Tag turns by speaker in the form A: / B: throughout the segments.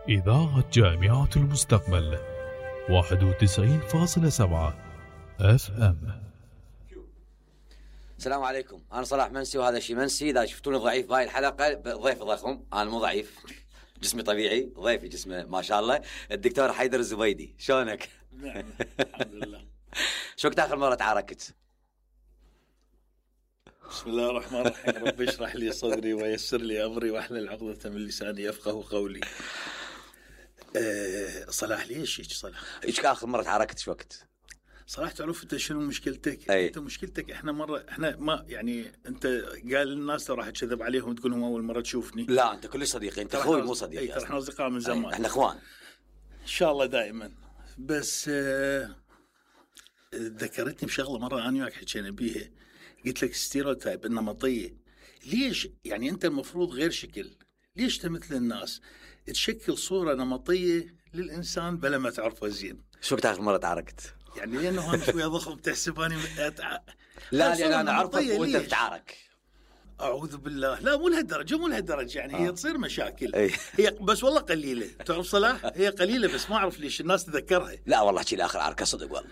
A: إذاعة جامعة المستقبل 91.7 FM.
B: السلام عليكم، أنا صلاح منسي وهذا شي منسي. إذا شفتوني ضعيف بهاي الحلقة ضيف ضخم، أنا مو ضعيف، جسمي طبيعي، ضيفي جسمه ما شاء الله، الدكتور حيدر الزبيدي. شلونك؟
C: نعم الحمد لله.
B: شو وقت آخر مرة تعاركت؟
C: بسم الله الرحمن الرحيم. رب اشرح لي صدري ويسر لي أمري واحلل عقدة من لساني يفقه قولي. صلاح ليش هيك صلاح؟
B: ايش آخر مرة تعاركت شو وقت؟
C: صلاح تعرف انت شنو مشكلتك؟
B: أي.
C: انت مشكلتك احنا ما يعني انت قال الناس راح تكذب عليهم تقول لهم اول مرة تشوفني.
B: لا انت كل صديقي، انت اخوي مو صديقي.
C: ترى احنا اصدقاء من زمان.
B: احنا اخوان
C: ان شاء الله دائما. بس ذكرتني بشغله مرة انا وياك حكينا بيها، قلت لك ستيريوتايب النمطية. ليش يعني انت المفروض غير شكل؟ ليش تمثل الناس تشكل صورة نمطية للإنسان بلا ما تعرفه زين؟
B: شو وقت آخر مرة تعاركت؟
C: يعني لأنه أنا شوية ضخم تحسب أني
B: لا لأن أنا أعرفك وأنت بتعارك.
C: أعوذ بالله، لا مو لهالدرجة يعني هي تصير مشاكل. هي بس والله قليلة، تعرف صلاح هي قليلة بس ما أعرف ليش الناس تذكرها.
B: لا والله شي الآخر عاركة صدق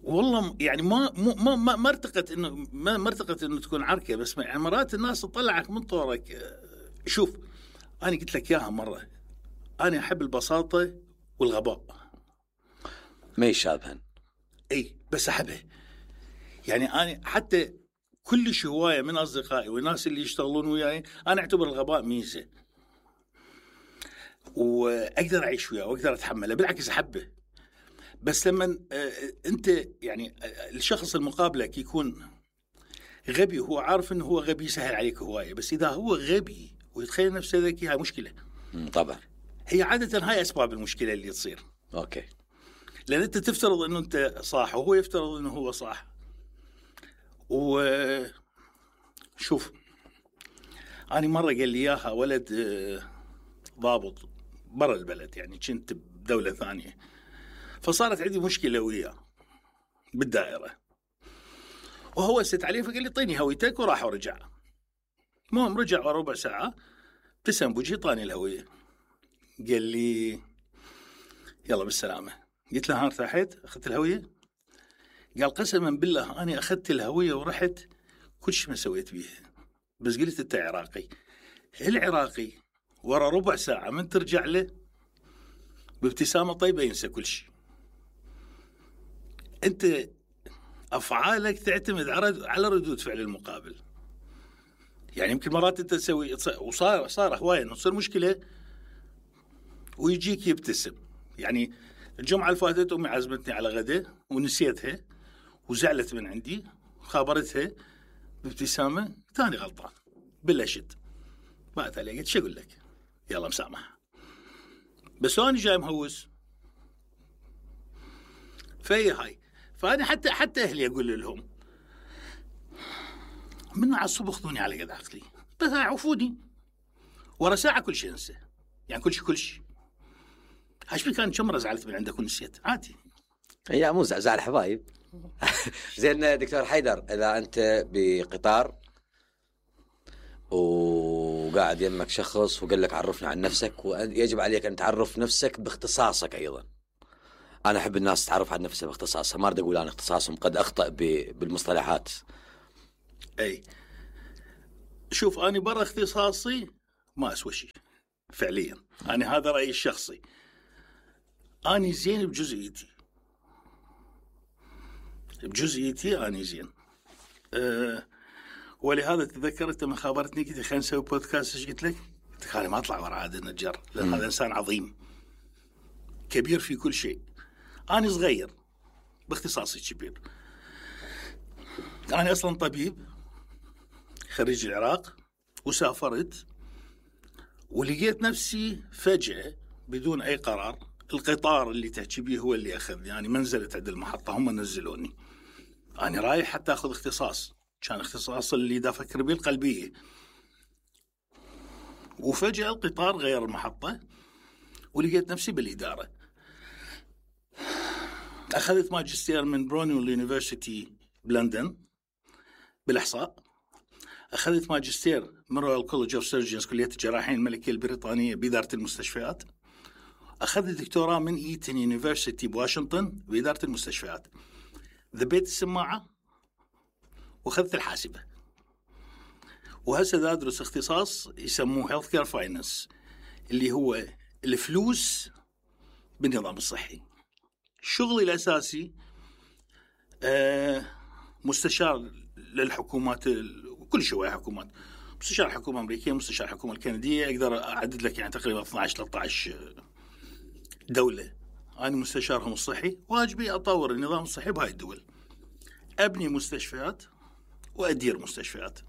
C: والله يعني ما ارتقت انه تكون عركه، بس يعني مرات الناس تطلعك من طورك. شوف انا قلت لك اياها مره، انا احب البساطه والغباء،
B: ما يشابهن.
C: اي بس احبها. يعني انا حتى كل هوايه من اصدقائي والناس اللي يشتغلون وياي انا اعتبر الغباء ميزه، واقدر اعيش وياه واقدر اتحمله، بالعكس احبه. بس لما انت يعني الشخص المقابلك يكون غبي وهو عارف انه هو غبي يسهل عليك هوايه، بس اذا هو غبي ويتخيل نفسه ذكي هاي مشكله.
B: طبعا
C: هي عاده هاي اسباب المشكله اللي تصير.
B: اوكي.
C: لان انت تفترض انه انت صح وهو يفترض انه هو صح. وشوف انا مره قال لي اياها ولد ضابط برا البلد، يعني كنت بدوله ثانيه، فصارت عندي مشكلة وياه بالدائرة، وهو ست عليه فقال لي طيني هويتك، وراح ورجع. المهم رجع وربع ساعة ابتسم بوجهي طاني الهوية، قال لي يلا بالسلامة. قلت له ها ارتحت أخذت الهوية؟ قال قسما بالله أنا أخذت الهوية ورحت كل شيء ما سويت بيها، بس قلت أنت عراقي. العراقي ورا ربع ساعة من ترجع له بابتسامة طيبة ينسى كل شيء. أنت أفعالك تعتمد على ردود فعل المقابل. يعني يمكن مرات أنت تسوي وصار هواية إنه تصير مشكلة ويجيك يبتسم. يعني الجمعة اللي فاتت أمي عزمتني على غدا ونسيتها وزعلت من عندي، خابرتها بابتسامة ثاني غلطان بلشت بعد علي قلت شو أقول لك يلا مسامح، بس أنا جاي مهوس. فهي هاي. فأنا حتى أهلي أقول لهم من على الصبح خذوني على قد عقلي، بس عفوني ورا ساعة كل شيء انسى، يعني كل شيء. عاش بي كان كم زعلت من عندك ونسيت عادي.
B: هي مو زعل حبايب. زين دكتور حيدر، إذا أنت بقطار وقاعد يمك شخص وقال لك عرفنا عن نفسك، ويجب عليك أن تعرف نفسك باختصاصك أيضا. أنا أحب الناس تعرف عن نفسها باختصاصها، ما أريد أقول أنا اختصاصهم، قد أخطأ بالمصطلحات.
C: أي شوف أنا برا اختصاصي ما أسوى شيء فعليا، أنا هذا رأيي الشخصي. أنا زين بجزئيتي أنا زين. ولهذا تذكرت لما خابرتني قلت خلينا نسوي بودكاست. ايش قلت لك؟ قلت لك أنا ما أطلع ورا عادل النجار، لأن هذا إنسان عظيم كبير في كل شيء. أنا صغير باختصاصي كبير. أنا أصلا طبيب خريج العراق، وسافرت ولقيت نفسي فجأة بدون أي قرار القطار اللي تحكي بيه هو اللي أخذني. يعني ما نزلت عند المحطة، هم نزلوني. أنا رايح حتى أخذ اختصاص، كان اختصاص اللي دا أفكر بيه القلبية، وفجأة القطار غير المحطة ولقيت نفسي بالإدارة. أخذت ماجستير من برونيول يونيفرسيتي بلندن بالإحصاء. أخذت ماجستير من رويال كولج اوف سيرجنز كلية الجراحين الملكية البريطانية بإدارة المستشفيات. أخذت دكتوراه من إيتن يونيفرسيتي بواشنطن بإدارة المستشفيات. ذبيت السماعة وأخذت الحاسبة، وهسه أدرس اختصاص يسموه هيلث كير فاينانس، اللي هو الفلوس بالنظام الصحي. شغلي الأساسي مستشار للحكومات، كل شوية حكومات، مستشار الحكومة الأمريكية، مستشار الحكومة الكندية، أقدر أعدد لك يعني تقريبا 12-13 دولة أنا مستشارهم الصحي. واجبي أطور النظام الصحي بهاي الدول، أبني مستشفيات وأدير مستشفيات.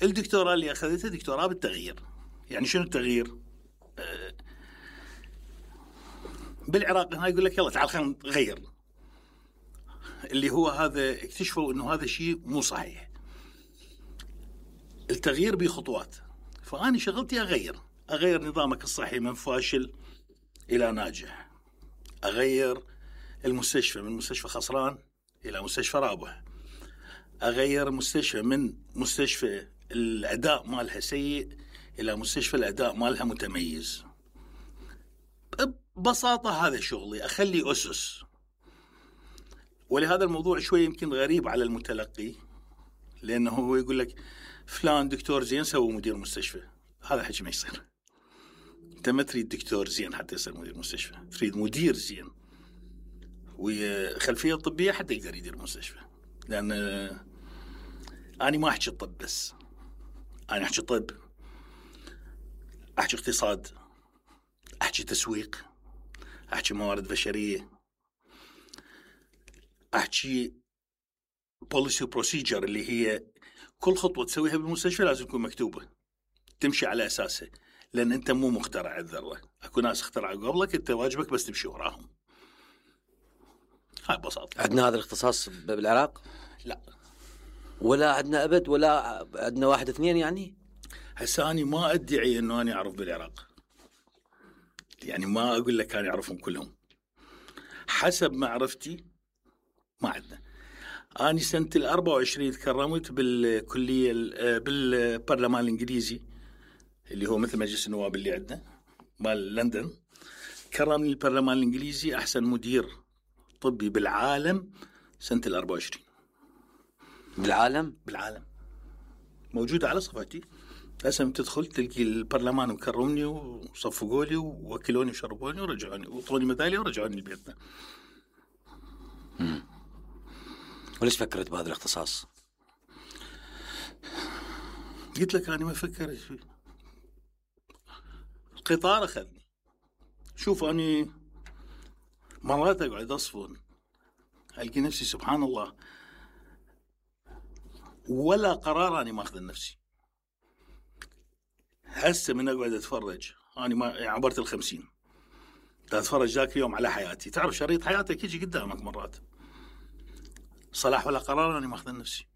C: الدكتوراه اللي أخذتها دكتوراه بالتغيير. يعني شنو التغيير؟ بالعراق هاي يقول لك يلا تعال خلينا نغير، اللي هو هذا اكتشفوا انه هذا شيء مو صحيح. التغيير بخطوات، فأنا شغلتي أغير نظامك الصحي من فاشل إلى ناجح، أغير المستشفى من مستشفى خسران إلى مستشفى رابح، أغير مستشفى من مستشفى الأداء مالها سيء إلى مستشفى الأداء مالها متميز. ببساطة هذا شغلي، أخلي أسس. ولهذا الموضوع شوي يمكن غريب على المتلقي، لأنه هو يقول لك فلان دكتور زين سوى مدير مستشفى. هذا حكي ما يصير. أنت ما تريد دكتور زين حتى يصير مدير مستشفى، تريد مدير زين وخلفية طبية حتى يقدر يدير مستشفى. لأن أنا ما أحكي الطب بس، أنا أحكي طب، أحكي اقتصاد، أحكي تسويق، أحكي موارد بشرية، أحكي policy procedure، اللي هي كل خطوة تسويها بالمستشفى لازم تكون مكتوبة، تمشي على أساسه. لأن أنت مو مخترع الذرة، أكو ناس اخترعوا قبلك، أنت واجبك بس تمشي وراهم. هاي ببساطة.
B: عندنا هذا الاختصاص بالعراق؟
C: لا،
B: ولا عندنا أبد، ولا عندنا 1-2 يعني.
C: هسه أنا ما أدعي أنه أنا أعرف بالعراق، يعني ما أقول لك أنا أعرفهم كلهم. حسب معرفتي ما عندنا. أنا سنة 24 تكرمت بالكلية بالبرلمان الإنجليزي، اللي هو مثل مجلس النواب اللي عندنا مال لندن. كرمني البرلمان الإنجليزي أحسن مدير طبي بالعالم سنة 24.
B: بالعالم
C: موجودة على صفحتي. هسه تدخل تلقي البرلمان مكرمني وصفقوا لي ووكلوني وشربوني ورجعوني وطوني ميدالية ورجعوني لبيتنا.
B: وليش فكرت بهذا الاختصاص؟
C: قلت لك أنا ما فكرت فيه، القطار أخذني. شوف أنا مرات أقعد أصفن ألقي نفسي سبحان الله ولا قرار أنا ما أخذ نفسي. هسه من أقعد أتفرج، أنا ما عبرت 50، أتفرج ذاك اليوم على حياتي. تعرف شريط حياتك يجي قدامك مرات، صلاح ولا قرار أنا ما أخذ نفسي.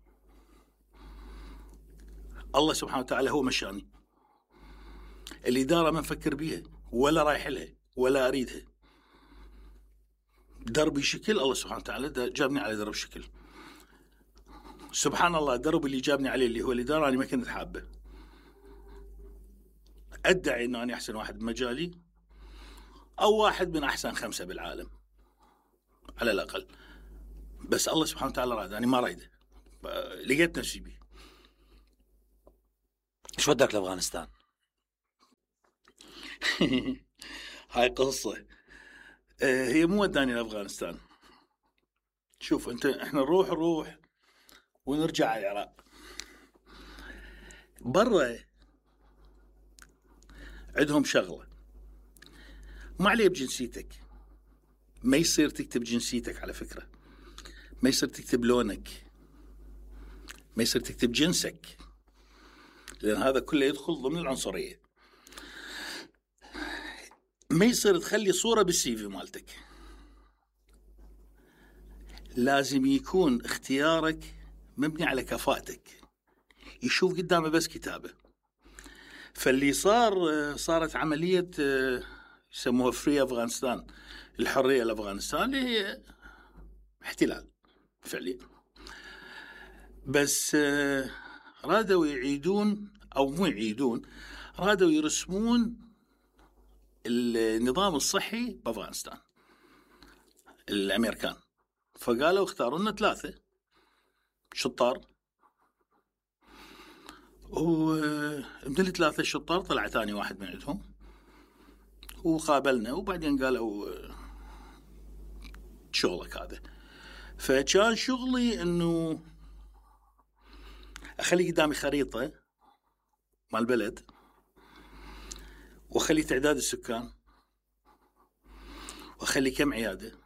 C: الله سبحانه وتعالى هو مشاني. الإدارة ما نفكر بيها ولا رايح لها ولا أريدها. دربي شكل، الله سبحانه وتعالى جابني على درب شكل. سبحان الله الدرب اللي جابني عليه اللي هو الإدارة أنا ما كنت حابه. أدعي أنه أنا أحسن واحد بمجالي أو واحد من أحسن 5 بالعالم على الأقل، بس الله سبحانه وتعالى راد، أنا ما رايده، لقيت نفسي بيه.
B: شو ودك لأفغانستان؟
C: هاي قصة. هي مو وداني لأفغانستان. شوف أنت، إحنا نروح ونرجع على العراق. برا عندهم شغلة ما عليه بجنسيتك، ما يصير تكتب جنسيتك على فكرة، ما يصير تكتب لونك، ما يصير تكتب جنسك، لأن هذا كله يدخل ضمن العنصرية. ما يصير تخلي صورة بالسي في مالتك. لازم يكون اختيارك مبني على كفاءتك، يشوف قدامه بس كتابة. فاللي صارت عملية يسموها فري أفغانستان، الحرية لأفغانستان، اللي هي احتلال فعليا. بس رادوا يعيدون أو مو يعيدون، رادوا يرسمون النظام الصحي بأفغانستان الأمريكان. فقالوا اختاروا لنا 3 شطار، ومن 3 شطار طلع ثاني واحد من عندهم وقابلنا، وبعدين قالوا شغلك هذا. فكان شغلي انه اخلي قدامي خريطة مال البلد، واخلي تعداد السكان، واخلي كم عيادة،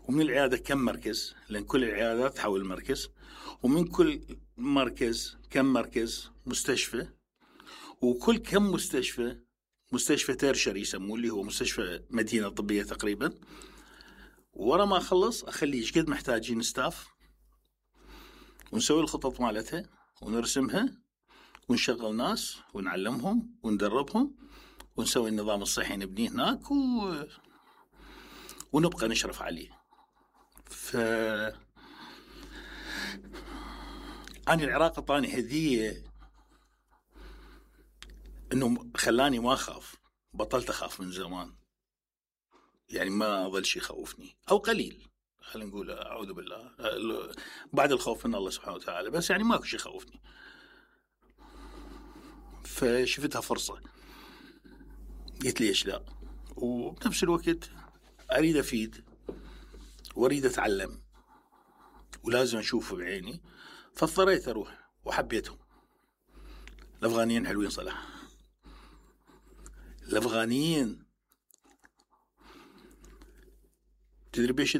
C: ومن العيادة كم مركز، لأن كل العيادات تحول مركز، ومن كل مركز كم مركز مستشفى، وكل كم مستشفى تيرشري يسموه، اللي هو مستشفى مدينة طبية تقريبا. ورا ما أخلص أخلي إيش قد محتاجين ستاف، ونسوي الخطط مالتها ونرسمها ونشغل ناس ونعلمهم وندربهم ونسوي النظام الصحي نبنيه هناك ونبقى نشرف عليه. أنا العراق أعطاني هدية إنه خلاني ما أخاف، بطلت أخاف من زمان، يعني ما ظل شيء يخوفني أو قليل، خلينا نقول أعوذ بالله بعد الخوف من الله سبحانه وتعالى، بس يعني ماكو شيء يخوفني. فشفتها فرصة، قلت ليش لا، وبنفس الوقت أريد أفيد وأريد أتعلم ولازم أشوفه بعيني. فاضطريت أروح وحبيتهم. الأفغانيين حلوين صراحة، الأفغانيين تدري بيش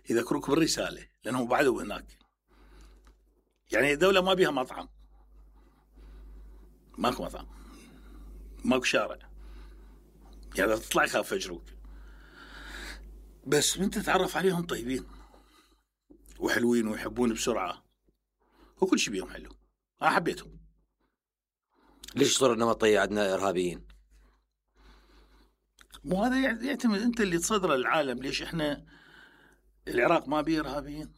C: يذكروك بالرسالة، لأنهم بعدوا هناك. يعني الدولة ما بيها مطعم، ماكو مطعم، ماكو شارع، يعني تطلع يخاف فجروك، بس من تتعرف عليهم طيبين وحلوين ويحبون بسرعة وكل شيء بيهم حلو. أنا حبيتهم.
B: ليش صورة نمطية عندنا إرهابيين؟
C: مو هذا يعتمد أنت اللي تصدر العالم. ليش إحنا العراق ما بيه إرهابيين؟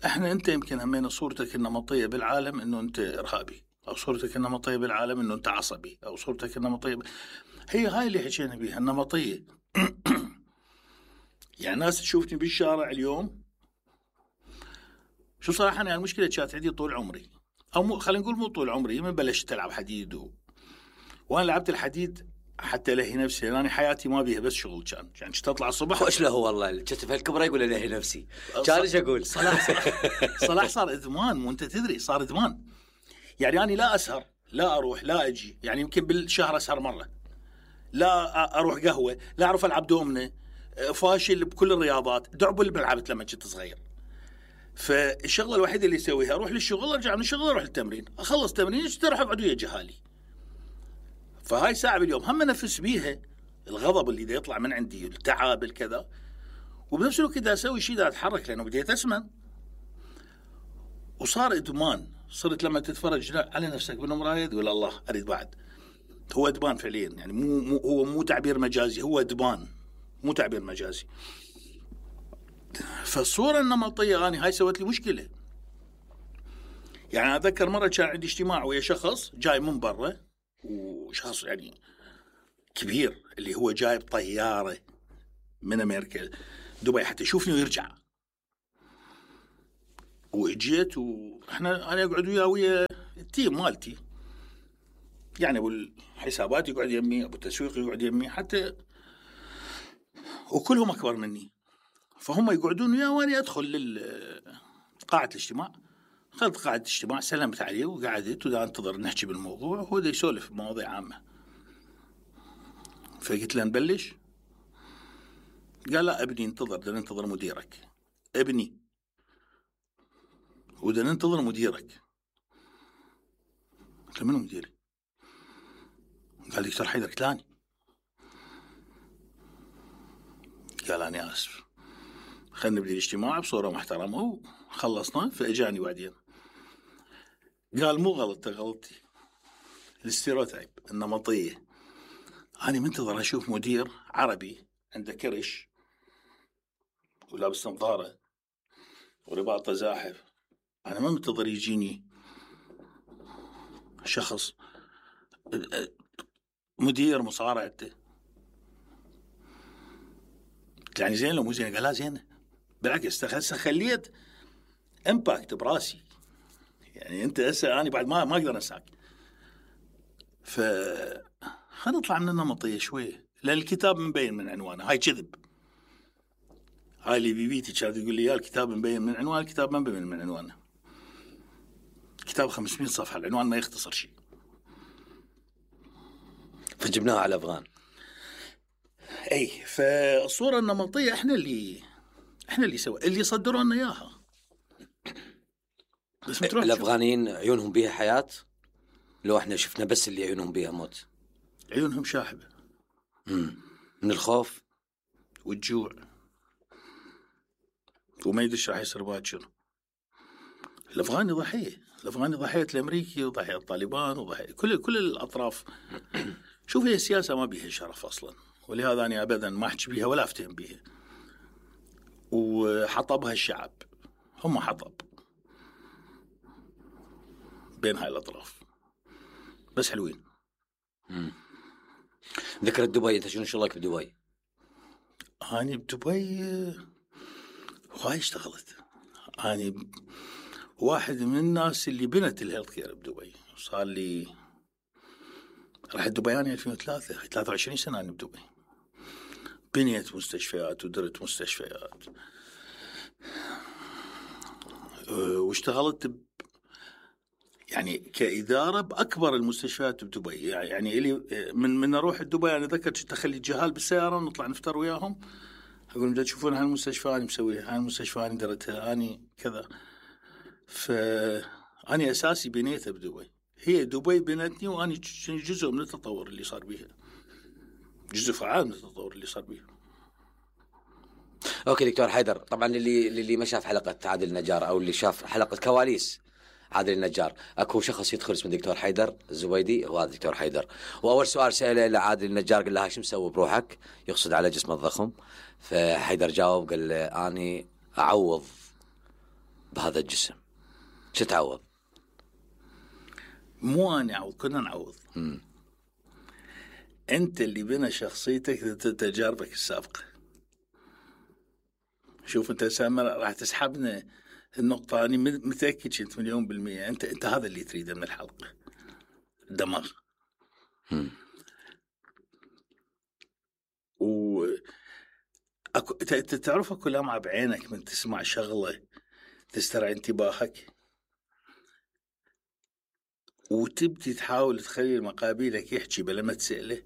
C: إحنا أنت يمكن همين صورتك النمطية بالعالم إنه أنت إرهابي، أو صورتك النمطية بالعالم إنه أنت عصبي، أو صورتك النمطية هي هاي اللي حكينا بيها النمطية. يعني ناس تشوفني بالشارع اليوم، شو صراحة أنا المشكلة كانت عندي طول عمري، أو خلينا نقول مو طول عمري، من بلشت ألعب حديد وأنا لعبت الحديد حتى لهي نفسي، لأن حياتي ما بيها بس شغل. يعني تطلع الصبح
B: وإيش له والله كتف هالكبرى يقول لهي نفسي، كان إيش أقول
C: صلاح صار إدمان، مو أنت تدري صار إدمان. يعني أنا لا أسهر، لا أروح، لا أجي، يعني يمكن بالشهر أسهر مرة، لا أروح قهوة، لا أعرف ألعب دومنة، فاشل بكل الرياضات، دعبل بلعبت لما كنت صغير. فالشغله الوحيده اللي اسويها اروح للشغل، ارجع من الشغل اروح للتمرين، اخلص تمرين اروح اقعد ويا جهالي. فهاي ساعه باليوم هم انفس بيها الغضب اللي دا يطلع من عندي، التعب الكذا، وبنفس الوقت دا اسوي شيء دا اتحرك لانه بديت اسمن. وصار ادمان، صرت لما تتفرج على نفسك بالمرايه تقول الله اريد بعد. هو ادمان فعليا، يعني مو تعبير مجازي، هو ادمان مو تعبير مجازي. فالصورة النمطية أنا هاي سوت لي مشكلة. يعني أذكر مرة كان عندي اجتماع ويا شخص جاي من برا، وشخص يعني كبير اللي هو جايب طيارة من أمريكا دبي حتى يشوفني ويرجع. وإجيت وإحنا أنا أقعد ويا التيم مالتي، يعني أبو الحسابات يقعد يمي، أبو التسويق يقعد يمي، حتى وكلهم أكبر مني. فهم يقعدون وياه وأنا أدخل قاعة الاجتماع. دخلت قاعة الاجتماع، سلمت عليه وقعدت ودا أنتظر نحكي بالموضوع، وهو دا يسولف بمواضيع عامة. فقلت له نبلش؟ قال لا ابني انتظر، دا ننتظر مديرك. ابني ودا ننتظر مديرك. قلت له منو مديري؟ قال لي دكتور حيدر كتلاني. قال أنا آسف، خلنا نبدي الاجتماع بصورة محترمة، وخلصنا. فأجاني بعدين قال مو غلط، غلطتي الاستيروتايب النمطية. أنا منتظر أشوف مدير عربي عنده كرش ولابس نظارة ورباطه زاحف، انا ما منتظر يجيني شخص مدير مصارعته يعني زين لو مو زين، قال لا زين بالعكس خليت امباكت براسي. يعني انت هسه انا بعد ما اقدر انساك. خلينا نطلع من النمطيه شويه، لان الكتاب مبين من عنوانه. هاي كذب، هاي اللي بيبيتي كانت تقول لي يا الكتاب مبين من عنوانه. الكتاب ما مبين من عنوانه، كتاب 500 صفحه، العنوان ما يختصر شيء.
B: فجبناها على الافغان.
C: اي فالصوره النمطيه احنا اللي سوى اللي صدروا لنا اياها.
B: بس الافغانيين عيونهم بيها حياه، لو احنا شفنا بس اللي عيونهم بيها موت.
C: عيونهم شاحبه
B: من الخوف
C: والجوع، وما يدري راح يصير باكر. الافغاني ضحيه، الافغاني ضحيه الامريكي وضحيه الطالبان وضحيه كل الاطراف. شوف هي السياسه ما بيها شرف اصلا، ولهذا انا ابدا ما احكي بيها ولا افتهم بيها. وحطبها الشعب، هم حطب بين هاي الاطراف، بس حلوين.
B: ذكرت دبي، انت شنو شغلك بدبي؟
C: أنا بدبي هاي اشتغلت. أنا واحد من الناس اللي بنت الهيلث كير بدبي. صار لي رحت دبي أنا 2003، 23 سنة أنا بدبي. بنيت مستشفيات ودرت مستشفيات، واشتغلت يعني كإدارة بأكبر المستشفيات بدبي. يعني إلي من أروح دبي أنا ذكرت كنت أخلي الجهال بالسيارة ونطلع نفطر وياهم، أقول بدأ تشوفون هالمستشفى أنا مسويها، هالمستشفى أنا درتها، أنا كذا. فأنا أساسي بنيتها بدبي، هي دبي بنتني، وأنا جزء من التطور اللي صار بيها، جزء فعال من التطور اللي صار بيها.
B: اوكي دكتور حيدر، طبعا اللي ما شاف حلقة عادل النجار او اللي شاف حلقة كواليس عادل النجار، اكو شخص يدخل اسمه دكتور حيدر الزبيدي، هو هذا دكتور حيدر. واول سؤال سأله لعادل النجار قال له شو مسوي بروحك، يقصد على جسمه الضخم. فحيدر جاوب قال له اني اعوض بهذا الجسم. شو تعوض؟
C: مو أنا أعوض، كنا نعوض. أنت اللي بنى شخصيتك تجاربك السابقة. شوف أنت سامر راح تسحبنا النقطة، أنا متأكد كنت 1,000,000%. أنت هذا اللي تريده من الحلقة، الدماغ. تعرف أكو لمعة بعينك من تسمع شغلة تسترعي انتباهك، وتبدي تحاول تخلي مقابلك يحكي بلا ما تسأله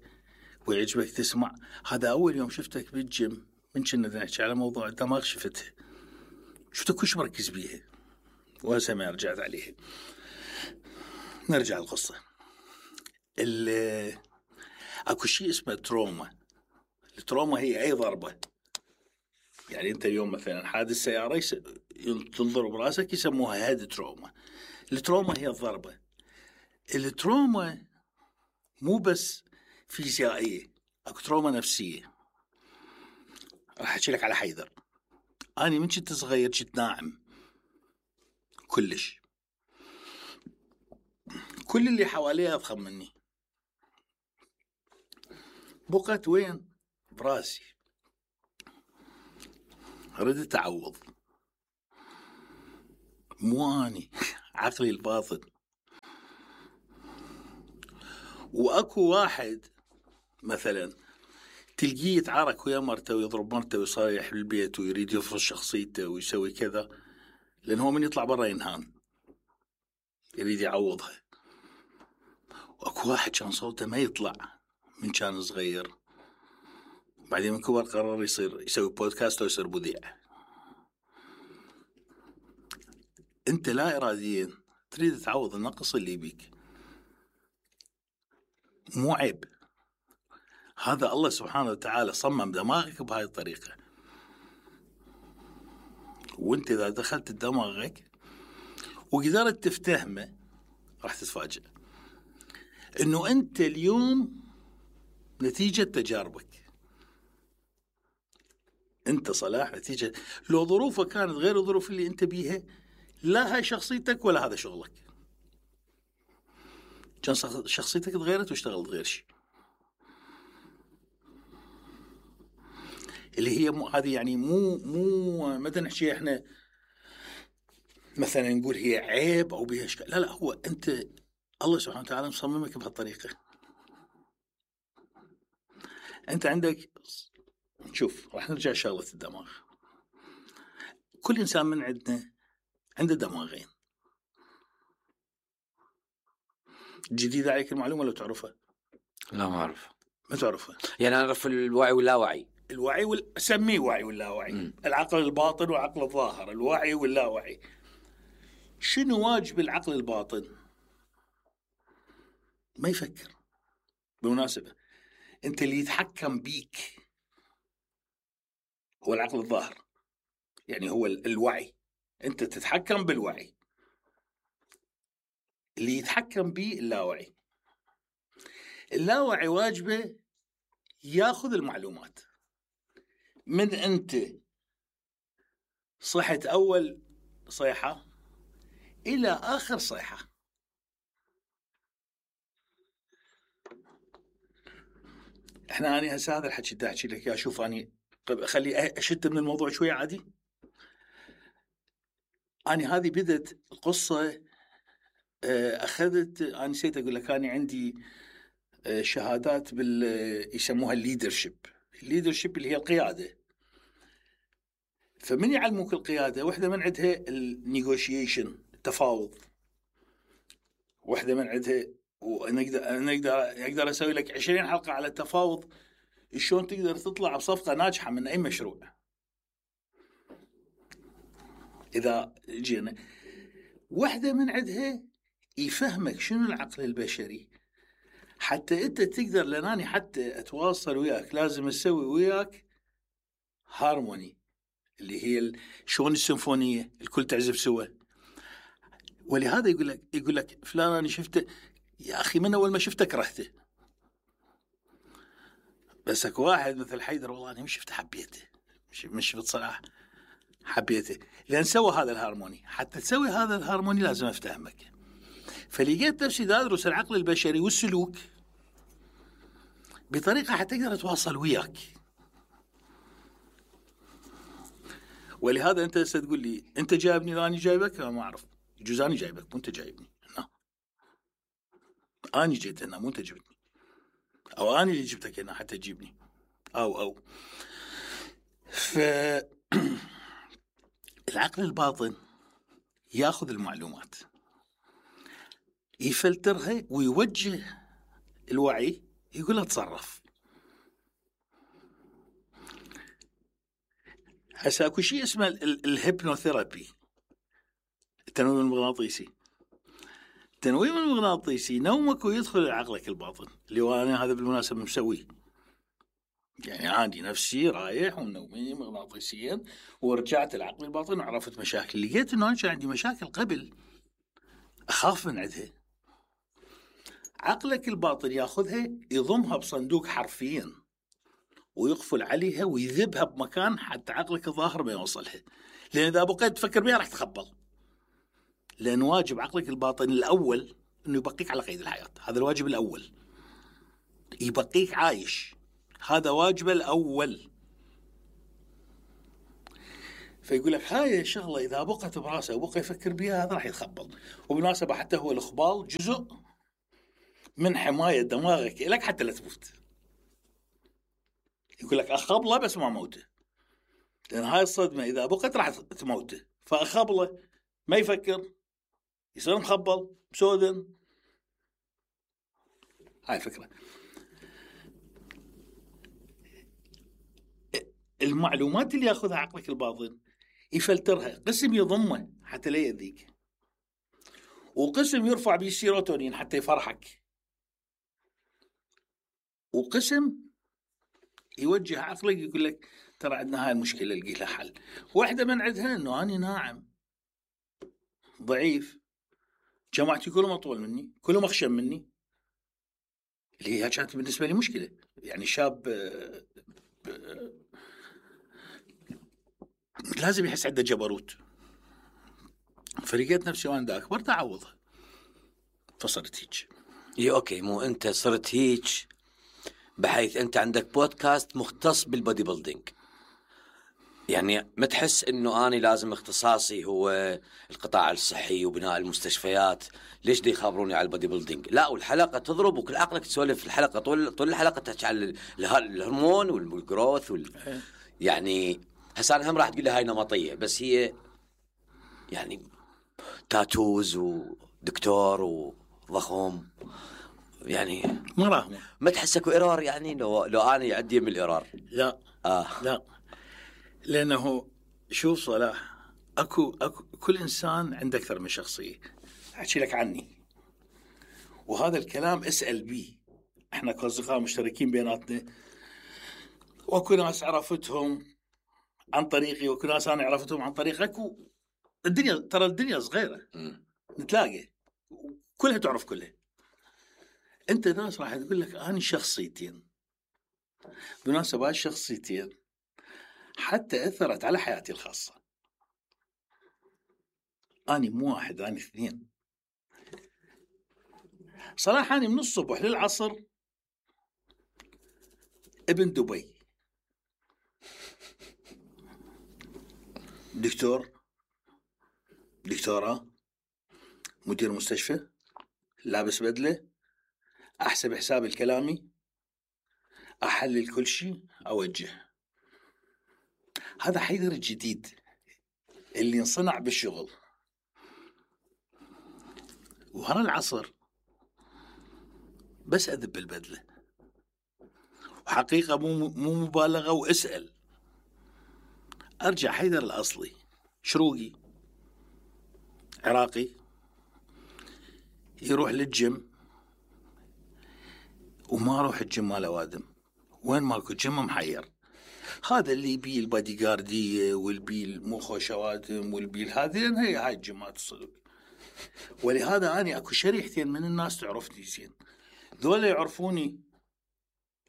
C: ويعجبك تسمع. هذا أول يوم شفتك بالجيم من كنا نحكي على موضوع الدماغ، شفتها شفتك كلش مركز بيها، وهسه ما رجعت عليها. نرجع القصة. أكو شيء اسمه تروما. التروما هي أي ضربة. يعني أنت اليوم مثلا حادث سيارة تنضرب براسك يسموها هيد تروما. التروما هي الضربة. التروما مو بس فيزيائية، أكو تروما نفسية. راح أحكي لك على حيدر. أنا من كنت صغير كنت ناعم كلش، كل اللي حواليه أضخم مني. بقت وين؟ براسي. ردت أعوض، مو أني، عقلي الباطن. وأكو واحد مثلا تلقيه يتعارك ويا مرته ويضرب مرته ويصايح بالبيت ويريد يفرض شخصيته ويسوي كذا، لأن هو من يطلع برا ينهان، يريد يعوضها. وأكو واحد كان صوته ما يطلع من كان صغير، بعدين من كبر قرر يسوي بودكاست ويصير مذيع. أنت لا إراديا تريد تعوض النقص اللي بيك، مو عيب. هذا الله سبحانه وتعالى صمم دماغك بهاي الطريقة، وانت إذا دخلت دماغك وقدرت تفتهمه راح تتفاجأ انه انت اليوم نتيجة تجاربك. انت صلاح نتيجه لو ظروفك كانت غير الظروف اللي انت بيها، لا هاي شخصيتك ولا هذا شغلك. كان شخصيتك تغيرت واشتغلت غير شيء، اللي هي هذه يعني مو ما نحكي احنا مثلا نقول هي عيب او بها اشكال، لا هو انت الله سبحانه وتعالى مصممك بهالطريقه. انت عندك، شوف راح نرجع شغله الدماغ. كل انسان من عندنا عنده دماغين. جديدة عليك المعلومه لو تعرفها؟
B: لا ما أعرف.
C: ما تعرفها؟
B: يعني أنا أعرف الوعي واللاوعي.
C: الوعي سميه وعي واللاوعي. العقل الباطن وعقل الظاهر، الوعي واللاوعي. شنو واجب العقل الباطن؟ ما يفكر. بالمناسبة انت اللي يتحكم بيك هو العقل الظاهر، يعني هو الوعي. انت تتحكم بالوعي، اللي يتحكم به اللاوعي. اللاوعي واجبه ياخذ المعلومات من انت صحت اول صيحة الى اخر صيحة. احنا هسه هذا الحكي دا احكي لك يا شوف اني خلي اشد من الموضوع شوية عادي. أنا هذه بدت القصة أخذت، أنا نسيت أقول لك، أنا عندي شهادات يسموها الليدرشيب اللي هي القيادة. فمن يعلموك القيادة، واحدة من عندها النيغوشيشن، التفاوض. واحدة من عندها، وأنا أقدر أسوي لك 20 حلقة على التفاوض، شلون تقدر تطلع بصفقة ناجحة من أي مشروع. إذا جينا واحدة من عندها يفهمك شنو العقل البشري، حتى أنت تقدر، لأنني حتى أتواصل وياك لازم أسوي وياك هارموني، اللي هي شلون السيمفونية الكل تعزف سوا. ولهذا يقول لك فلان أنا شفته يا أخي، من أول ما شفته كرهته، بس اكو واحد مثل حيدر والله أنا مش شفته حبيته، مش شفت صلاح حبيته، لأن سوى هذا الهارموني. حتى تسوي هذا الهارموني لازم أفتهمك. فلقيت نفسي أدرس العقل البشري والسلوك بطريقة حتى أقدر أتواصل وياك. ولهذا أنت ستقول لي أنت جايبني لا أنا جايبك، ما أعرف، يجوز أنا جايبك مو أنت جايبني. لا، أنا جيت هنا مو أنت جبتني، أو أنا اللي جبتك هنا حتى تجيبني، أو العقل الباطن ياخذ المعلومات، يفلترها ويوجه الوعي، يقول له تصرف. هسه اكو شيء اسمه الهيبنوثيرابي، التنويم المغناطيسي. التنويم المغناطيسي نومك ويدخل عقلك الباطن، اللي هو انا هذا بالمناسبة مسويه، يعني عندي نفسي رايح ونومي مغناطيسيا، ورجعت العقل الباطن وعرفت مشاكل. لقيت انه انا عندي مشاكل قبل اخاف من عندها، عقلك الباطن ياخذها يضمها بصندوق حرفيا ويقفل عليها ويذبها بمكان حتى عقلك الظاهر ما يوصلها، لأن إذا بقيت تفكر بها راح تخبل. لأن واجب عقلك الباطن الأول إنه يبقيك على قيد الحياة، هذا الواجب الأول، يبقيك عايش، هذا واجبه الأول. فيقول لك هاي الشغلة إذا بقت براسه وبقى يفكر بها هذا راح يتخبل. وبالمناسبة حتى هو الإخبال جزء من حماية دماغك لك حتى لا تموت. يقول لك أخبله بس ما موته، لأن هاي الصدمة إذا بقت راح تموته، فأخبله ما يفكر، يصير مخبل مسودن. هاي الفكرة. المعلومات اللي ياخذها عقلك الباطن يفلترها، قسم يضمه حتى لا يأذيك، وقسم يرفع به السيروتونين حتى يفرحك، وقسم يوجه عقلك يقول لك ترى عندنا هاي المشكلة لقي لها حل. واحدة من عندها انه أنا ناعم ضعيف، جماعتي كلهم أطول مني، كلهم أخشن مني، اللي هي كانت بالنسبة لي مشكلة. يعني شاب لازم يحس عنده جبروت. فلقيت نفسي وانا اكبر تعوضها، فصرت هيك.
B: اوكي، مو انت صرت هيك بحيث انت عندك بودكاست مختص بالبودي بيلدينج، يعني ما تحس انه اني لازم اختصاصي هو القطاع الصحي وبناء المستشفيات، ليش دي يخابروني على البودي بيلدينج؟ لا، والحلقه تضرب وكل عقلك تسولف في الحلقه، طول الحلقه تحكي على الهرمون والجروث يعني هسه انا هم راح تقول لي هاي نمطيه، بس هي يعني تاتوز ودكتور وضخم، يعني ما تحس اكو ايرور؟ يعني لو انا عندي من الايرور.
C: لا لا، لانه شوف صلاح، اكو كل انسان عنده اكثر من شخصيه. احكي لك عني، وهذا الكلام اسال بيه. احنا كاصدقاء مشتركين بيناتنا، واكو ناس عرفتهم عن طريقي، واكو ناس انا عرفتهم عن طريقك. الدنيا ترى الدنيا صغيره، نتلاقى كلها تعرف كلها. انت ناس راح تقول لك انا شخصيتين، بمناسبة الشخصيتين حتى اثرت على حياتي الخاصه. اني مو واحد، اني اثنين. صراحه اني من الصبح للعصر ابن دبي، دكتوراه، مدير مستشفى، لابس بدله، احسب حساب الكلامي، احلل كل شيء، اوجه. هذا حيدر الجديد اللي انصنع بالشغل. وهنا العصر بس اذب البدله، وحقيقه مو مبالغه، واسال ارجع حيدر الاصلي، شروقي عراقي، يروح للجيم وما اروح الجيم مال اوادم، وين ماكو جيم محير. هذا اللي يبي البادي جارديه والبي المخ شوادم والبي هذه هاي الجيمات الصدق. ولهذا اني اكو شريحتين من الناس تعرفني زين، ذولا يعرفوني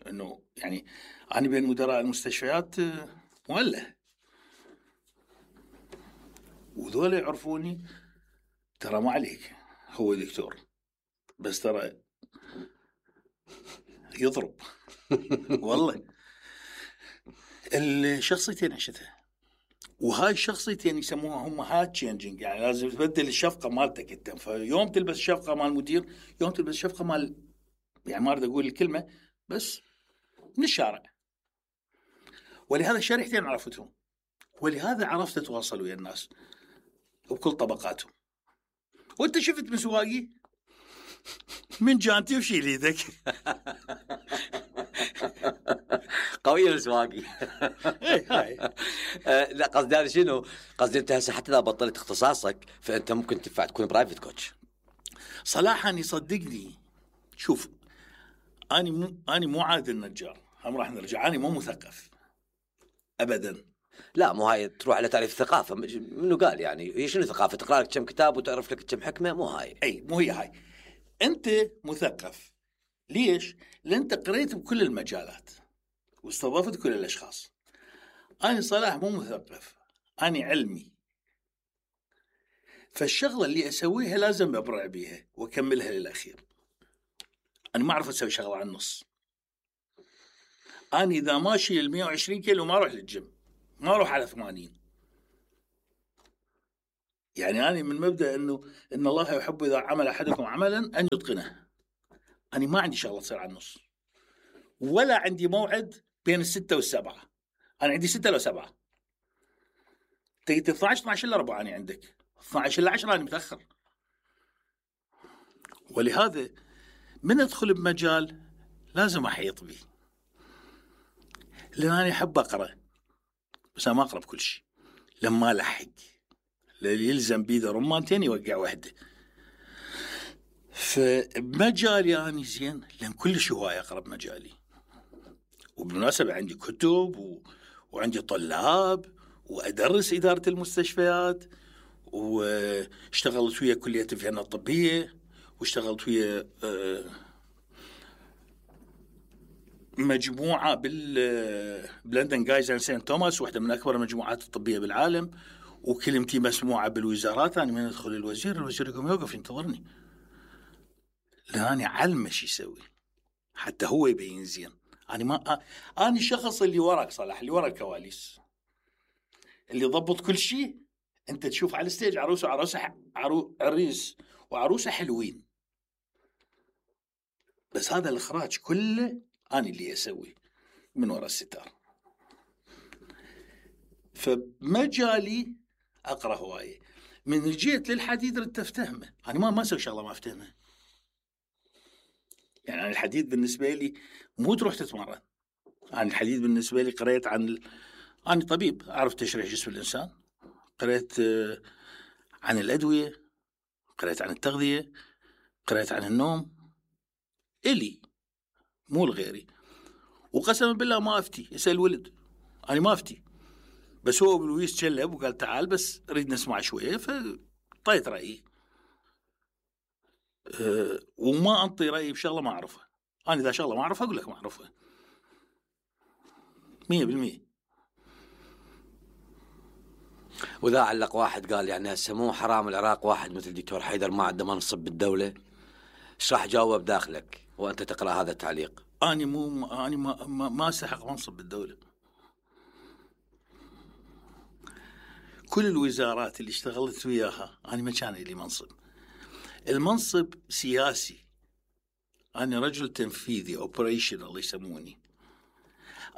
C: انه يعني انا بين مدراء المستشفيات مولع، وذولا يعرفوني ترى ما عليك هو دكتور، بس ترى يضرب. والله الشخصيتين عشتها، وهاي الشخصيتين يسموها هم هات تشينجينج، يعني لازم تبدل الشفقه مالتك انت. فيوم تلبس شفقه مال مدير، يوم تلبس شفقه مال، يعني ما اريد اقول الكلمه بس من الشارع. ولهذا الشريحتين عرفتهم، ولهذا عرفت اتواصل ويا الناس بكل طبقاتهم. وانت شفت مسواقي من جانتي وشيل ايدك.
B: قوية السواقي.
C: هاي
B: لا، قصدي هذا شنو؟ قصدي انت هسه حتى اذا بطلت اختصاصك فانت ممكن تنفع تكون برايفت كوتش.
C: صراحة يصدقني، شوف اني مو عادل النجار، هم راح نرجع. اني مو مثقف ابدا.
B: لا، مو هاي تروح على تعريف الثقافة. منو قال يعني هي شنو ثقافة؟ تقرأ لك كم كتاب وتعرف لك كم حكمة؟ مو هاي.
C: اي مو هي هاي. انت مثقف ليش؟ لان انت قريت بكل المجالات واستضفت كل الاشخاص. انا صراحة مو مثقف، اني علمي. فالشغلة اللي اسويها لازم ابرع بيها واكملها للاخير. انا ما اعرف اسوي شغلة على النص. انا اذا ماشي ال 120 كيلو ما اروح للجيم، ما اروح على 80. يعني أنا من مبدأ إن الله يحب إذا عمل أحدكم عملا أن يتقنه. أنا ما عندي شغلة تصير على النص، ولا عندي موعد بين 6 و7. أنا عندي 6 ل 7. تجي 12 12 إلا ربع، أنا عندك 12 إلا 10 أنا متأخر. ولهذا من أدخل بمجال لازم أحيط به، لأن أنا أحب أقرأ، بس أنا ما أقرأ بكل شيء. لما ألحق اللي يلزم بيده رمانتين يوقع وحده. فمجالي أنا زين، لأن كل شيء هواية أقرأ بمجالي. وبالمناسبة عندي كتب وعندي طلاب، وأدرس إدارة المستشفيات، واشتغلت ويا كلية الفنون الطبية، واشتغلت ويا مجموعة بلندن جايز اند سانت توماس، واحدة من أكبر المجموعات الطبية بالعالم، وكلمتي مسموعة بالوزارات. أنا من أدخل الوزير يقوم يوقف ينتظرني، لأني علمه شو يسوي حتى هو يبين زين. أنا الشخص اللي وراك صلاح، اللي ورا الكواليس، اللي ضبط كل شيء. أنت تشوف على الستيج عريس وعروسة حلوين، بس هذا الإخراج كله أنا اللي أسوي من وراء الستار. فمجالي أقرأ هواية. من جيت للحديد ردت أفتهمه. أنا ما أسوي شغلة ما أفتهمه. يعني أنا الحديد بالنسبة لي مو تروح تتمرن. أنا الحديد بالنسبة لي قرأت أنا طبيب، أعرف تشريح جسم الإنسان، قرأت عن الأدوية، قرأت عن التغذية، قرأت عن النوم، إلي مو لغيري. وقسما بالله ما أفتي، يسأل ولد، أنا ما أفتي. بس هو بلويس تشلب وقال تعال بس أريد نسمع شوية، فطيت رأيي. وما أنطي رأيي بشغلة ما أعرفها. أنا إذا شغلة ما أعرفها أقول لك ما أعرفها 100%.
B: وإذا علق واحد قال يعني هسه مو حرام العراق واحد مثل دكتور حيدر ما عنده منصب بالدولة، ايش راح جاوب داخلك وأنت تقرأ هذا التعليق؟
C: أنا ما أستحق منصب بالدولة. كل الوزارات اللي اشتغلت وياها أنا ما كان لي منصب. المنصب سياسي، أنا رجل تنفيذي operational يسموني.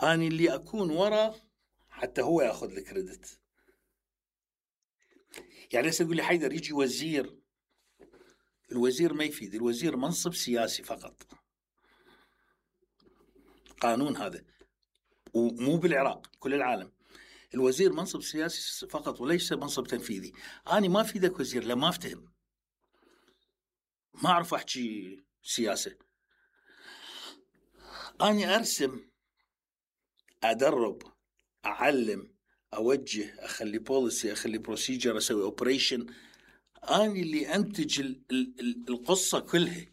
C: أنا اللي أكون ورا حتى هو يأخذ الكريدت. يعني هسه يقول لي حيدر يجي وزير، الوزير ما يفيد. الوزير منصب سياسي فقط، قانون هذا، ومو بالعراق كل العالم. الوزير منصب سياسي فقط وليس منصب تنفيذي. أنا ما أفيدك وزير لما أفتهم، ما أعرف أحكي سياسة. أنا أرسم، أدرب، أعلم، أوجه، أخلي بوليسي، أخلي بروسيجر، أسوي أوبريشن. أنا اللي أنتج القصة كلها.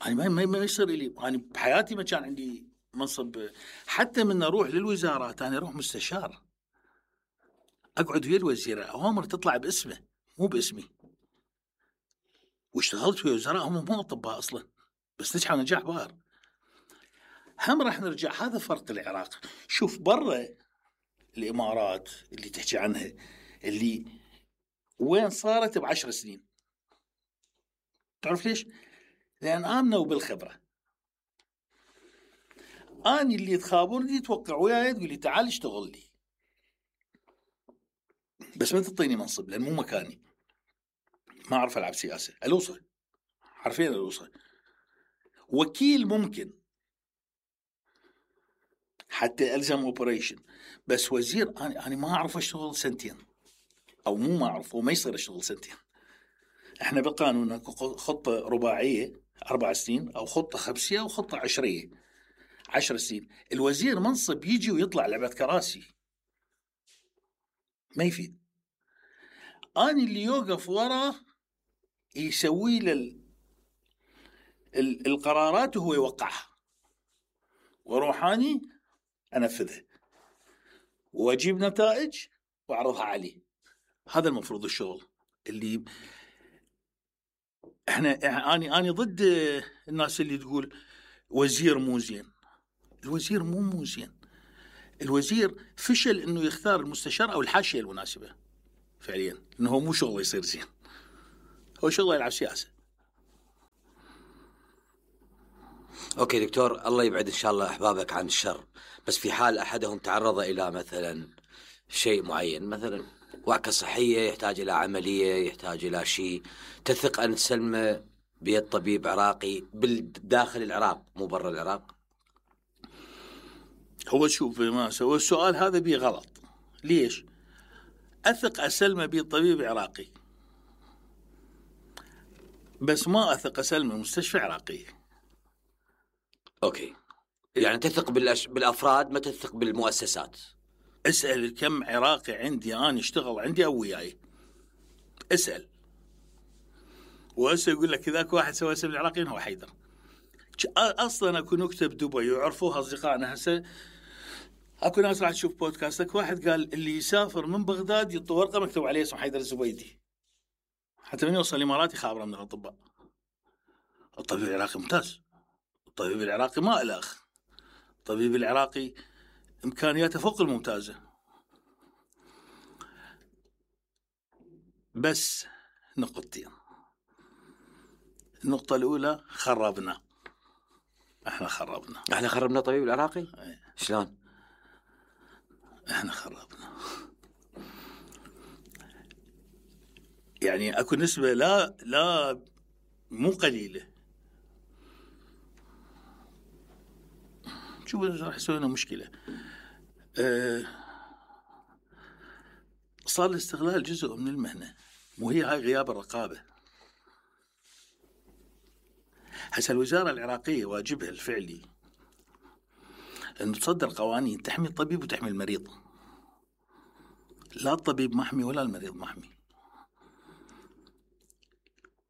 C: أنا ما يصير لي. أنا بحياتي ما كان عندي منصب. حتى من أروح للوزارات أنا أروح مستشار، أقعد ويا الوزير، أوامر تطلع باسمه مو باسمي. واشتغلت ويا وزراء هم مو أطباء أصلا، بس نجحوا نجاح باهر. هم راح نرجع. هذا فرق العراق. شوف برا الإمارات اللي تحكي عنها، اللي وين صارت ب10 سنين. تعرف ليش؟ لأن آمنوا بالخبرة. أنا اللي تخابرني توقع وياي تقول لي تعال اشتغل لي، بس ما تعطيني منصب لأن مو مكاني. ما أعرف ألعب سياسة. الوصل حرفيا الوصل. وكيل ممكن حتى ألزم أوبريشن، بس وزير أنا ما أعرف أشتغل سنتين، أو مو ما أعرف، وما يصير أشتغل سنتين. إحنا بالقانون خطة رباعية 4 سنين، أو خطة خمسية، أو خطة 10 سنين. الوزير منصب يجي ويطلع لعبة كراسي، ما يفيد. أنا اللي يوقف وراه يسوي له القرارات وهو يوقعها، وروحاني أنفذها وأجيب نتائج وأعرضها عليه. هذا المفروض الشغل اللي أنا ضد الناس اللي تقول وزير مو زين. الوزير مو زين. الوزير فشل إنه يختار المستشار أو الحاشية المناسبة فعليا، إنه هو مو شغله يصير زين، هو شغله يلعب سياسة.
B: أوكي دكتور، الله يبعد إن شاء الله أحبابك عن الشر. بس في حال أحدهم تعرض إلى مثلا شيء معين، مثلا وعكة صحية، يحتاج إلى عملية، يحتاج إلى شيء، تثق أن تسلمه بيد طبيب عراقي بالداخل العراق مو برا العراق؟
C: هو شوف، ما هو السؤال هذا بيه غلط. ليش؟ أثق أسلمه بيد طبيب عراقي، بس ما أثق أسلمه مستشفى عراقي.
B: أوكي، يعني تثق بالأفراد، ما تثق بالمؤسسات.
C: اسأل كم عراقي عندي أنا اشتغل عندي أو وياي، اسأل. وهسه يقول لك ذاك واحد سوى اسم العراقيين هو حيدر. اصلا اكو نكته بدبي ويعرفوها اصدقائنا هسه. اكو ناس راح تشوف بودكاستك، واحد قال اللي يسافر من بغداد يعطي ورقه مكتوب عليه اسمه حيدر الزبيدي، حتى من يوصل الامارات يخابره من الاطباء. الطبيب العراقي ممتاز، الطبيب العراقي ما له اخ، الطبيب العراقي امكانياته فوق الممتازه. بس نقطتين. النقطه الاولى خربنا، احنا
B: خربنا الطبيب العراقي.
C: أي.
B: شلون؟
C: احنا خربنا. يعني اكو نسبه لا مو قليله. شوف راح يسوي لنا مشكله. صار الاستغلال جزء من المهنه، مو هي هاي غياب الرقابه. هسه الوزاره العراقيه واجبها الفعلي أن تصدر قوانين تحمي الطبيب وتحمي المريض. لا الطبيب محمي ولا المريض محمي.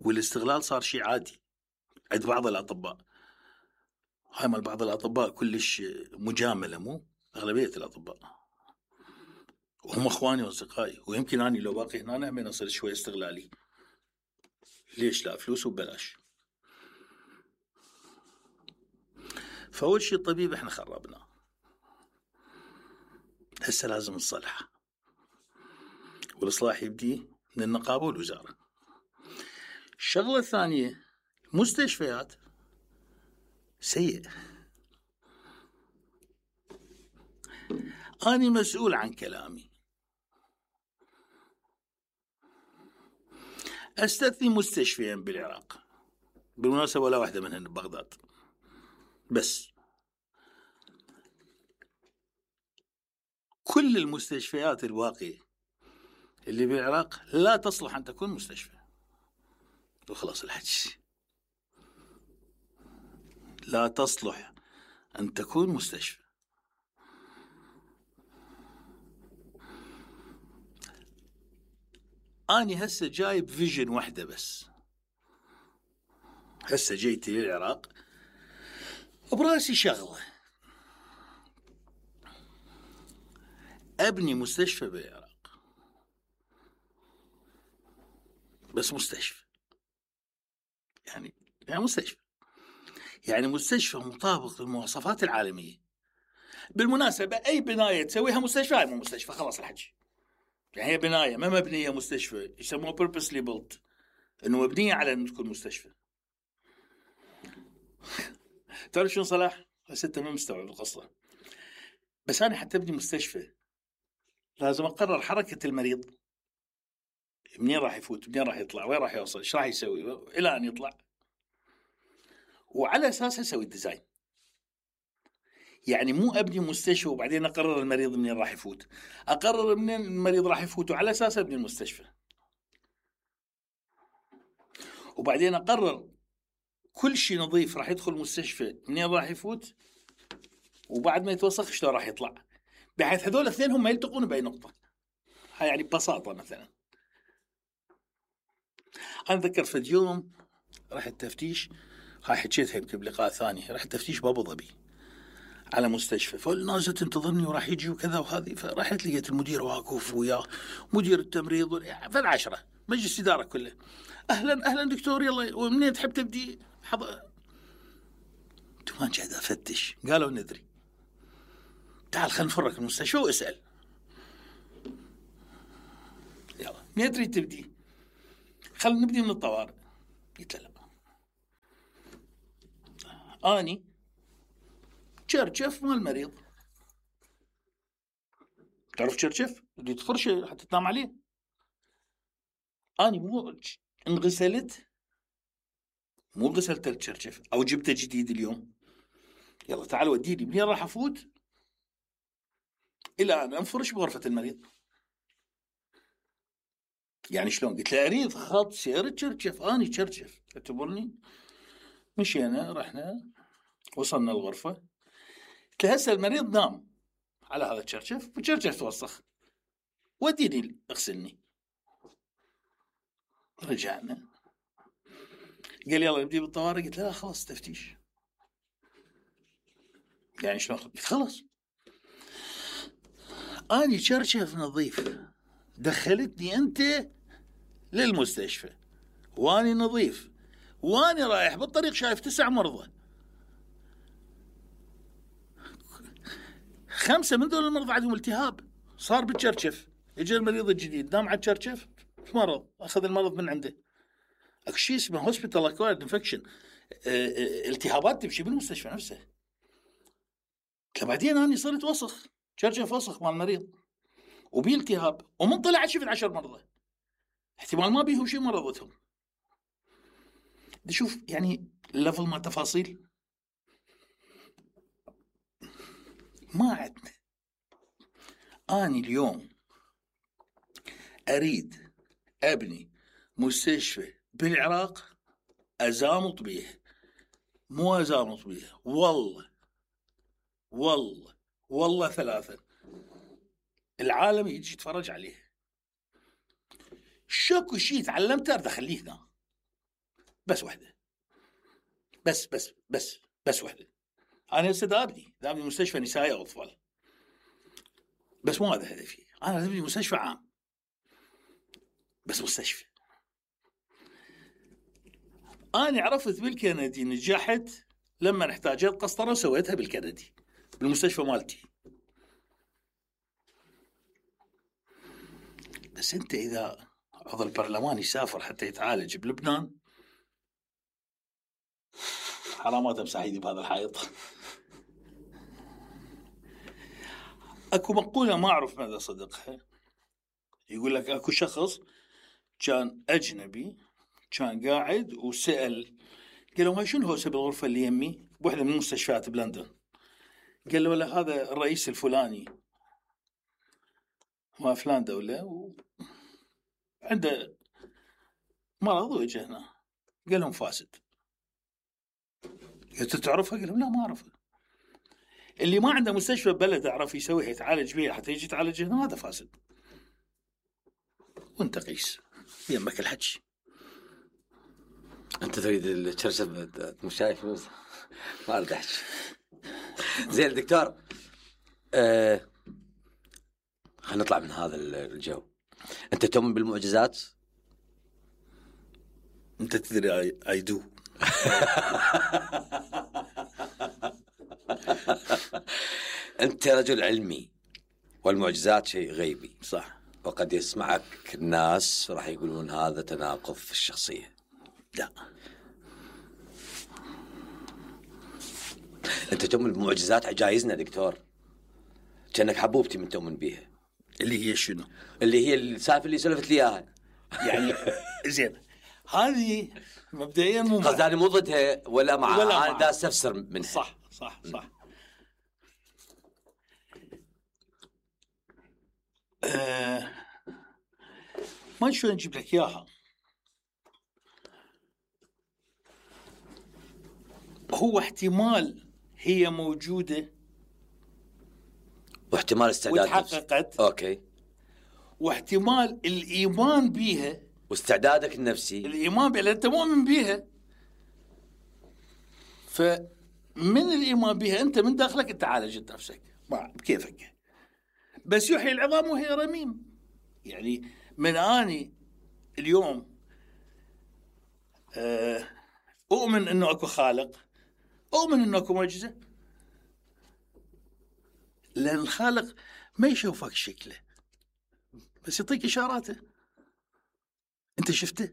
C: والاستغلال صار شيء عادي عند بعض الأطباء. هاي مال بعض الأطباء كلش مجاملة، مو أغلبية الأطباء، وهم أخواني وأصدقائي، ويمكن أنا لو باقي هنا هم أصير شوي استغلالي. ليش لا؟ فلوس وببلاش. فأول شيء الطبيب إحنا خربنا، هسه لازم نصلحه، والإصلاح يبدي من النقابة والوزارة. الشغلة الثانية، مستشفيات سيء. أنا مسؤول عن كلامي. أستثني مستشفيين بالعراق، بالمناسبة ولا واحدة منهن ببغداد، بس كل المستشفيات الواقعة اللي بالعراق لا تصلح أن تكون مستشفى. وخلاص الحكي، لا تصلح أن تكون مستشفى. أنا هسه جايب فيجن واحدة بس. هسه جيتي للعراق براسي شغلة، أبني مستشفى بالعراق، بس مستشفى يعني مستشفى، يعني مستشفى مطابق للمواصفات العالمية. بالمناسبة أي بناية تسويها مستشفى هاي مو مستشفى، خلاص الحكي. يعني هي بناية ما مبنية مستشفى، يسموها purposely built، إنه مبنية على إنه تكون مستشفى. تعرف شو صلاح؟ هسه أنت ما مستوعب القصة. بس أنا حتى أبني مستشفى لازم أقرر حركة المريض، منين راح يفوت، منين راح يطلع، وين راح يوصل، إيش راح يسوي إلى أن يطلع، وعلى أساسها أسوي الديزاين. يعني مو أبني مستشفى وبعدين أقرر المريض منين راح يفوت، أقرر منين المريض راح يفوت وعلى أساس أبني المستشفى، وبعدين أقرر كل شيء نظيف راح يدخل المستشفى منين راح يفوت، وبعد ما يتوسخ شلون راح يطلع، بحيث هذول الاثنين هم يلتقون بأي نقطة. هاي يعني ببساطة. مثلا أنا أتذكر في اليوم راح التفتيش، هاي حكيتها يمكن بلقاء ثاني، راح التفتيش بأبو ظبي على مستشفى، فالناس تنتظرني وراح يجي وكذا وهذه، فرحت لقيت المدير واقف وياه، مدير التمريض فالعشرة، مجلس إدارة كله. أهلا دكتور، يلا ومنين تحب تبدي؟ ما قاعد أفتش، قالوا ندري، تعال خلينا نفرك المستشفى واسأل. يلا منين تريد تبدي؟ خلينا نبدي من الطوارئ. قلت له لا، أني شرشف مال المريض. تعرف شرشف اللي تفرشه حتى تنام عليه؟ أني مو انغسلت، مو غسلت الشرشف أو جبته جديد اليوم. يلا تعال وديني منين راح أفوت إلى أن أنفرش بغرفة المريض. يعني شلون؟ قلت له أريد خط سير تشرشف، أني تشرشف اعتبرني. مشينا رحنا وصلنا الغرفة، قلت له هسه المريض نام على هذا التشرشف والتشرشف توسخ، وديني اغسلني. رجعنا قال يلا نبدي بالطوارئ. قلت له لا خلاص تفتيش. يعني شلون خلص اني شرشف نظيف، دخلتني انت للمستشفى واني نظيف، واني رايح بالطريق شايف 9 مرضى، 5 من دول المرضى عندهم التهاب صار بالشرشف. اجى المريض الجديد نام على الشرشف مرض، اخذ المرض من عنده. اكو شيء اسمه هوسبيتال اكوايرد انفكشن، التهابات تمشي بالمستشفى نفسه. بعدين اني صرت وسخ، شرشف وسخ مال المريض وبي التهاب، ومن طلع شفت 10 مرضى احتمال ما بيهم شيء مرضتهم. شوف يعني الليفل ما تفاصيل ما عندنا. اني اليوم اريد ابني مستشفى بالعراق ازامط بيه، مو ازامط بيه، والله 3 العالم يجي يتفرج عليه. شكو شيء تعلمته اريد اخليه هنا، بس وحده، بس وحده. انا هسه دابني مستشفى نسائي او اطفال، بس مو هذا هدفي. انا ابني مستشفى عام، بس مستشفى. انا عرفت بالكندي نجحت لما احتاجت قسطره وسويتها بالكندي بالمستشفى مالتي. بس انت اذا عضو البرلمان يسافر حتى يتعالج بلبنان، حرامات امسح ايدي بهذا الحائط. اكو مقولة ما اعرف ماذا صدقها، يقول لك اكو شخص كان اجنبي كان قاعد وسأل، قال له شنو هو سبب الغرفة اللي يمي بوحدة من المستشفيات بلندن؟ قال له ولا هذا الرئيس الفلاني ما فلان دولة عنده مرض وجه هنا. قال لهم فاسد. قلت تعرفها؟ قال لهم لا ما أعرفها. اللي ما عنده مستشفى بلد أعرف يسويها يتعالج بيها حتى يجي يتعالج هنا، هذا فاسد. وانت قيس يمك الحج.
B: انت تريد الشرشف مش شايف ما اريد احكي. زين دكتور، خلينا نطلع من هذا الجو. انت تؤمن بالمعجزات؟
C: انت تدري اي دو.
B: انت رجل علمي والمعجزات شيء غيبي،
C: صح؟
B: وقد يسمعك الناس راح يقولون هذا تناقض في الشخصية.
C: لا،
B: انت تؤمن بمعجزات عجايزنا دكتور، كأنك حبوبتي من تؤمن بيها.
C: اللي هي شنو؟
B: اللي هي السالفة اللي سلفت لي اياها
C: يعني زين هذه مبدئيا مو
B: قصدي مو ضدها ولا مع، انا دا استفسر منها.
C: صح. ما شلون نجيب لك اياها. هو احتمال هي موجودة
B: واحتمال استعداد
C: وتحققت،
B: اوكي،
C: واحتمال الإيمان بيها
B: واستعدادك النفسي.
C: الإيمان بيها أنت مؤمن بيها، فمن الإيمان بيها أنت من داخلك أنت عالجت نفسك بكيفك. بس يحيي العظام وهي رميم. يعني من آني اليوم أؤمن أنه أكو خالق، أؤمن أنه أكو معجزة، لأن الخالق ما يشوفك شكله بس يعطيك إشاراته. أنت شفته؟